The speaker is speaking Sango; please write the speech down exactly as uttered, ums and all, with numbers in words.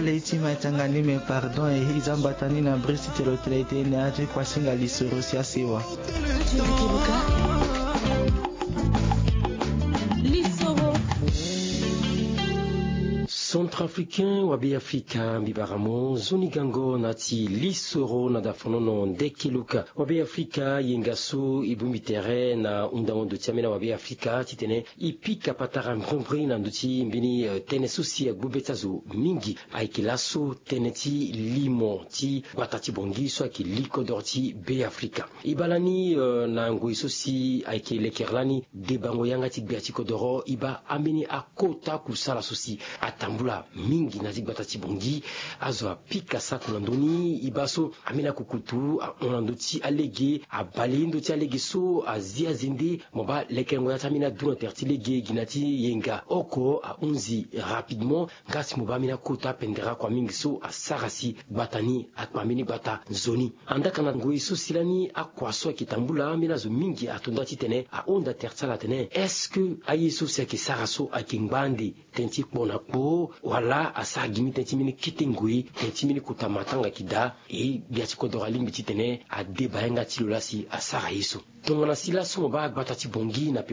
Leti ma tanga ni me pardon e hiza mbata ni na brisi telo tele te ne ati kwa singa lisoro si asewa. Centrafricain wa be afrika mbi bara mo nzoni gango na ti lisoro na dafonono ndeke luka wa be afrika yenga so e bongbi tere na hunda ndo ti ambeni wa be afrika titene e pika patara mbrimbri na ndö ti mbeni tënë so si agbu be ti azo mingi. Ayeke laso tënë ti limo ti gbata ti bongi so ayeke li kodoro ti be afrika. E baa lani na ngoi so si ayeke lekere lani debango yanga ti gbia ti kodoro e baa ambeni akota kusala so si atambula mingi na ti gbata ti bongi. Azo apika sako na ndö ni e baa so ambeni akukutu ahon na ndö ti alege abale ndö ti alege so azi azende. Mo baa lekerengo ya ti ambeni adu na tere ti lege gi na ti yenga oko ahunzi rapidement. Nga si mo baa ambeni akota pendere akua mingi so asara si gbata ni akpa mbeni gbata nzoni. Andaa ka na ngoi so si lani akua so ayeke tambula ambeni azo mingi ato nda titene ahunda tere ti ala atene est-ce que aye so si ayeke sara so ayeke ngba ande tënë ti kpo na kpo wala asara gi mbeni tënë ti mbeni kete ngoi tënë ti mbeni kota matanga ayeke daa. E gbia ti kodoro alingbi titene adeba yanga ti lo laa si asara ye so. Tongana si laso mo baa agbata ti bongi na